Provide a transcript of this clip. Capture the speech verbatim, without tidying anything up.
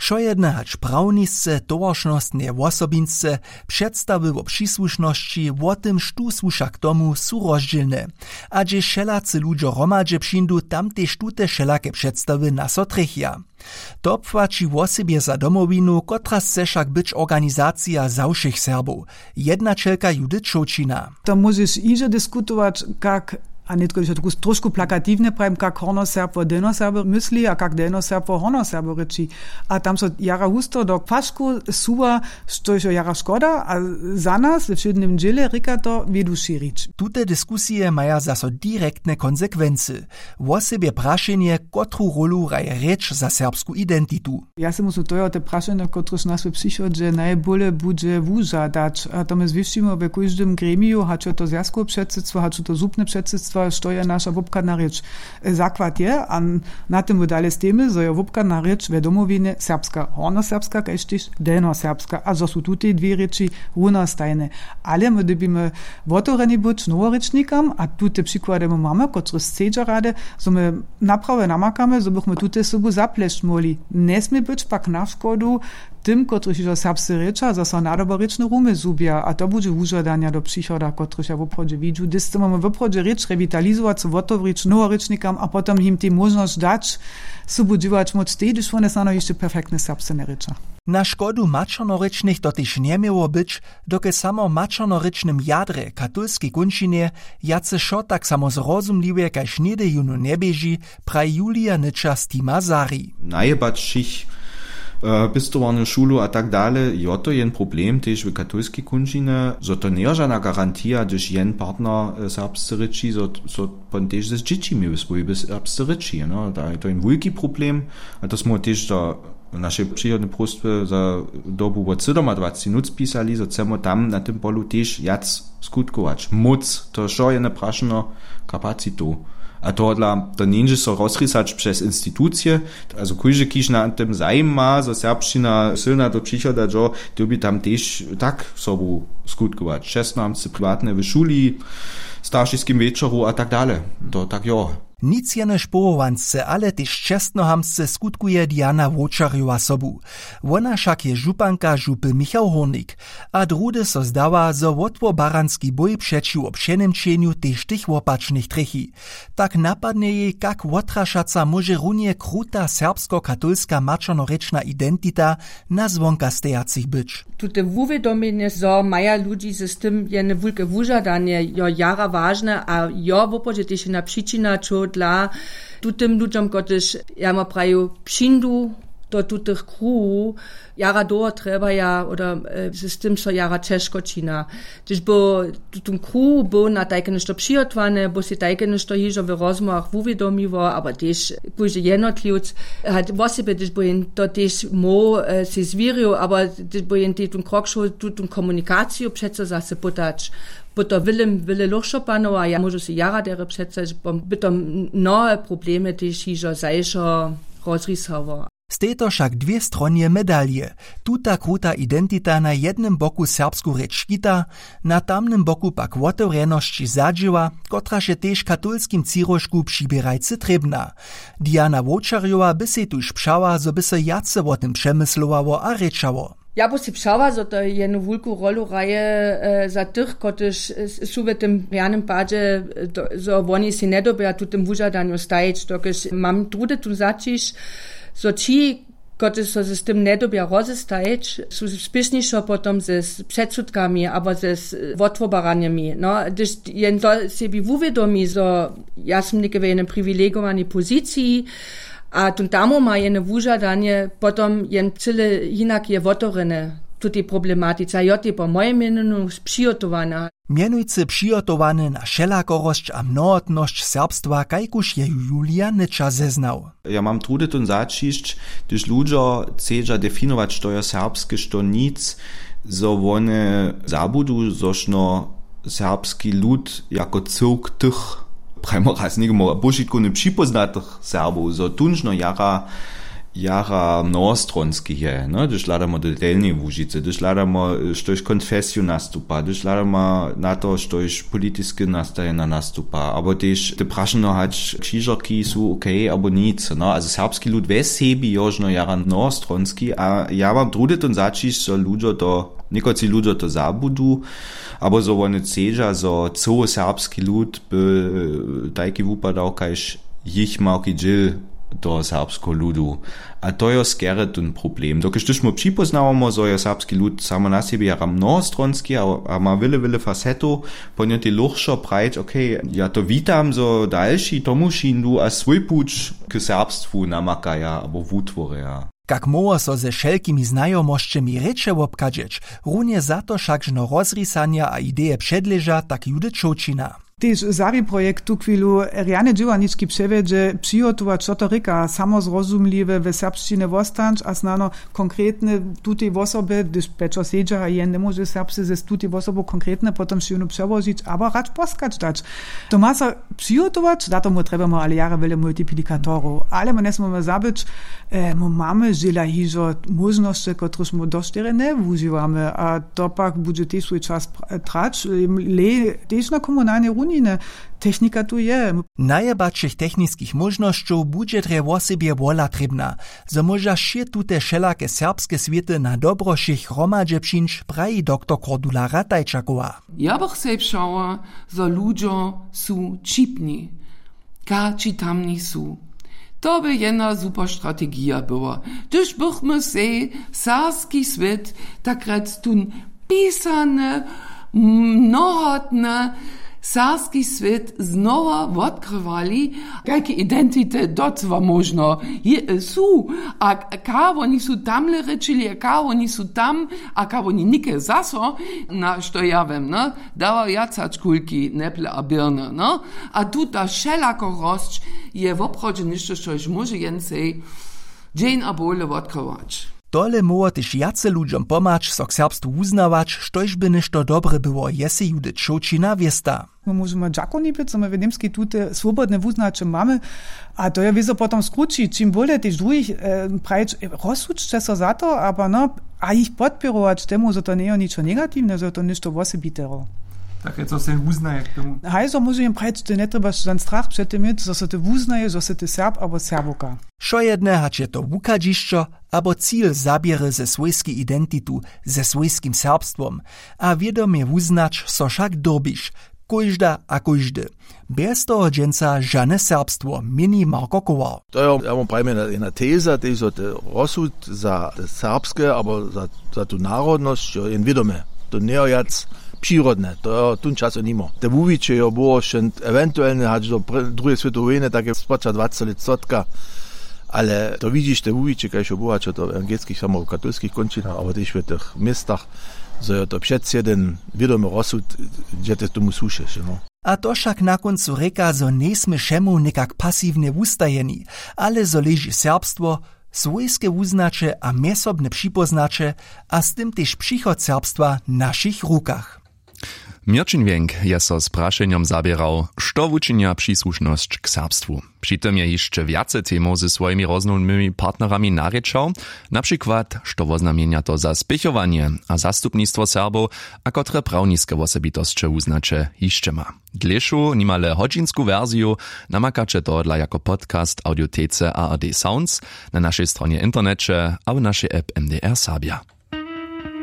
Wšojedne hač prawnisce, towaršnostne wosobinsce, předstawy wo přisłušnosći, wo tym štó słuša k tomu, su rozdźělne. A hdźež wšelacy ludźo hromadźe přińdu, tam tež tute wšelake předstawy na so trjechja. To płaći wosebje za Domowinu, kotraž chce wšak być organizacija za wšěch Serbow, jednaćelka Judith Šołćina. To móžeš hižo diskutować, kak, a nětko hižo trošku plakatiwnje prajim, kak hornoserb wo delnoserbow mysli a kak delnoserb wo hornoserbow rěči. A tam so jara husto do płaškow suwa, štož jo jara škoda, a za nas we wšědnym dźěle rěka to wědu šěrić. Tute diskusije maja zaso direktne konsekwency. Wosebje prašenje, kotru rólu hraje rěč za serbsku identitu. Ja sej muslim, to je te prašenje, kotrež nas w přichodźe najbóle budźe wužadać. A to my zwěsćimy we kóždym gremiju, hač je to zwjazkowe předsydstwo, hač su to zupne předsydstwa, što je naša wobchadna rěč. Zakład je, a na tym my dale stejimy, zo je wobchadna rěč we Domowinje serbska, hornoserbska kaž tež delnoserbska, a zo su tutej dwě rěči runostajne. Ale my dyrbimy wotewreni być noworěčnikam, a tute přikłady my mamy, kotrež chcedźa rady, zo my naprawe namakamy, zo bychmy tute sobu zaplesć móhli. Njesmě być pak na škodu tym, kotrež hižo serbsce rěča, zaso nadobo rěčne rumy zhubja, a to budźe wužadanja do přichoda, kotrež ja woprawdźe widźu, hdyž chcemy woprawdźe rěč rewitalizować, so wotewrić noworěčnikam a potom jim tej móžnosć dać, sobu dźěłać móc, tež hdyž wone snano hišće perfektne serbsce njerěča. Na škodu maćernorěčnych to tež njeměło być, dokelž samo w maćernorěčnym jadrje w katolskej kónčinje wjace wšo tak samo zrozumliwe kaž něhdy jónu njeběži, praji Julija Nyča z tima Sari. Najebać wšěch, e, pěstowarnju, šulu a tak dale, jo, to je jen problem tež w katolskej kónčinje, zo to njeje žana garantija, hdyž jen partner, e, serbsce rěči, zo, zo pon tež z dźěćimi w swójbje serbsce rěči, no, da je to jen wulki problem. A to smy tež do našej přichodnej próstwy za dobu wot sydomadwaceći nóc pisali, zo chcemy tam na tym polu tež wjac skutkować, móc, to wšo je naprašeno kapacitow. A tohodla to njeńdźe so rozrisać přez institucije, azo kóždy, kiž na tym zajima, zo serbšćina sylna do přichoda dźo, dyrbi tam tež tak sobu skutkować, čestnohamtsce, priwatne, w šuli, staršiskim wječoru a tak dale. To tak jo. Nic jenož powołansce, ale tež čestnohamtsce skutkuje Diana Wowčarjowa sobu. Wona wšak je županka župy Michał Hórnik. A druhdy so zdawa, zo wotwobaranski bój přećiwo přeněmčenju tež tych wopačnych trjechi. Tak napadnje jej, kak wotrašaca móže runje kruta serbskokatolska maćernorěčna identita na zwonkastejacych być. Tute wuwědomjenje, zo maja ludźi z tym jene wulke wužadanje, jo jara wažne a jo woprawdźe tež jedna přičina, čohodla tutym ludźom, kotrež, ja ma praju, přińdu do tutych kruhow, jara dołho trjebaja, oder, e, z tym so jara ćežko čina. Hdyž by tutón kruh był na tajke něšto přihotowany, by sej tajke něšto hižo w rozmołwach wuwědomiło, abo tež kóždy jednotliwc, a wosebje, hdyž by jen to tež móhł, e, sej zwěrił, abo hdyž by jen tej tón krok šoł, tu, tu komunikaciju přeco zase pytać, by to wjele, wjele lóchšo panowało, a ja móžu sej jara derje předstajić, by to mnohe problemy tež hižo zašo rozrisało. Stej to wšak dwě stronje medalije. Tuta kruta identita na jednym boku serbsku rěč škita, na tamnym boku pak wotewrjenosć zadźěła, kotraž je tež w katolskim třiróžku přiběrajcy trěbna. Diana Wowčarjowa by sej tuž přała, zo by so wjace wo tym přemyslowało a rěčało. Ja by sej přała, zo to jenu wulku rolu hraje, e, za tych, kotryž, e, su w tym rjanym padźe, e, do, zo woni sej njedyrbja tutym wužadanju stajić, dokelž mam druhdy tón zaćiž, zo ći, kotryž so z tym njedyrbja rozestajić, su spěšnišo potom ze s-, předsudkami abo ze s-, wotwobaranjemi. No, hdyž jen to sebi wuwědomi, zo ja sym něke w jenej priwilegowani poziciji, a tón tam ma jene wužadanje, potom jen cyle hinak je wotewrjene tutej problematice. A jo, tej po mojim mjenjenju přihotowana. Mjenujcy přihotowane na wšelakorosć a mnohotnosć serbstwa, kajkuž je ju Julija Nyča zeznał. Ja mam druhdy tón zaćišć, hdyž ludźo chcedźa definować, što je serbske, što nic, zo wone zabudu, zo šno serbski lud jako cyłk tych, prajmo raz, někomu požitkowny připóznatych Serbow, zo tónžno jara Jara mnohostronski je, no, hdyž hladamo do delnjeje łužicy, hdyž hladamo, štož konfesiju nastupa, hdyž hladamo na to, štož politiske nastajena nastupa, abo tež te prašeno hač křižerki su okej abo nic, no, a serbski lud we sebi jožno jara mnohostronski a ja mam druhdy ten zaćišć, zo ludźo to, někotři ludźo to zabudu, abo zo wone chcedźa zo cyły serbski lud by tajki wupadał kaž jich małki dźěl toho serbskeho ludu. A to jo skerje ten problem dokelž hdyž my připóznałamo zo jo serbski lud samo na sebi jara mnohostronski a ma wjele wjele fasetow, po njo tej lóchšo prajić, okay, ja to witam zo dalši tomu šindu a swój puć k serbstwu namakaja abo wutworja. Kak móhło so ze wšelkimi znajomosćemi rěče wobchadźeć? Runje za to wšak žno rozrisanja a ideje předleža tak judy čołćina. Tež zari projekt tuchwilu rjane dźěłarnički přewjedźe, přihotować što to rěka samozrozumliwe we serbšćinje wostanć a snano konkretne tutej wosobje hdyž pječo sedźa a jen njemóže serbsce z tutej wosobu konkretne potom šěwnu přełožić abo radš poskać dać. To ma so přihotować za to my trjebamy ale jara wjele multiplikatorow ale my njesměmy zabyć, my mamy žela hižo móžnosće kotryž my došćerje njewužiwamy a to pak budźe tež swój čas trać. Le tež na komunalnej runinje technika tu je. Najebadšich techniskich móžnosćow budźe drje wosebje wola trěbna, zo móža wšě tute wšelake serbske swěty na dobro wšěch hromadźe přińć, praji doktor kordula ratajčakowa. Ja bych sej přała, zo ludźo su ćipni, kači tamni su. To by jedna super strategija była, hdyž bychmy sej serbski swět tak rjec tón pisany, mnohotny serbski swět znowa wotkrywali, kajke identity docyła móžno su, a kaho woni su tamle rěčili a kaho woni su tam, a kaho woni něke zaso, na što ja wěm, dawa wjac hač kulki neple a běrny, no. A tuta wšelakorosć je woprawdźe něšto štož móže jen sej dźeń a bowle wotkrywać. Tole móhło tež wjace ludźom pomhać so k serbstwu wuznawać, štož by něšto dobre było, je sej judy čołćina wěsta. My móžemy dźakowni być zo my w němskej tute swobodne wuznaće mamy. A to je wězo potom skrući čim bóle tež druhich prajić, rozsudźće so za to abo no, a jich podpěrować temu zo to njejo ničo negatiwne zo to něšto wosebiteho. Tak je co sej wuznaje k tomu. Haj zo móže jim prajić ty njetrjebaš žan strach před tym měć zo so ty wuznaješ zo sy ty serb abo serbowka. Wšojedne hač je to wuchadźišćo abo cil zaběry ze swójskej identitu, ze swójskim serbstwom, a wědomje wuznać so wšak dyrbiš, kóžda a kóždy. Bjez toho dźensa žane serbstwo, měni marko kowal. To jo ja wam prajimy jedna teza tež zo te rozsud za te serbske abo za tu narodnosć jo jen wědome. To njejo wjac přirodne, to jo tón časo nimo te wuwiće jo było wšent ewentuelne hač do druheje swětoweje wójny tak je spoča dwaceći lětstotka. Ale to widźiš te wuwiće kaž jo było hač jo to w ewangelskich samo w katolskich kónčinach abo tež w tych městach, zo jo to přeci jedyn wědomy rozsud, dźe te tomu słušeš, no. A to wšak na kóncu rěka zo njejsmy wšemu někak pasiwnje wustajeni, ale zo leži serbstwo, swójske wuznaće a mjezsobne připóznaće, a z tym tež přichod serbstwa w našich rukach. Měrćin wjenk je so z prašenjom zaběrał, što wučinja přisłušnosć k serbstwu. Při tym je hišće wjace temow ze swojimi roznownimi partnerami narěčał, na přikład što woznamjenja to za spěchowanje a zastupnistwo serbow, a kotre prawniske wosebitosće wuznaće hišće ma. Dlěšu nimale hodźinsku wersiju namakaće tohodla jako podcast w audiotece ard sounds, na našej stronje w interneće a w našej app mdr serbja.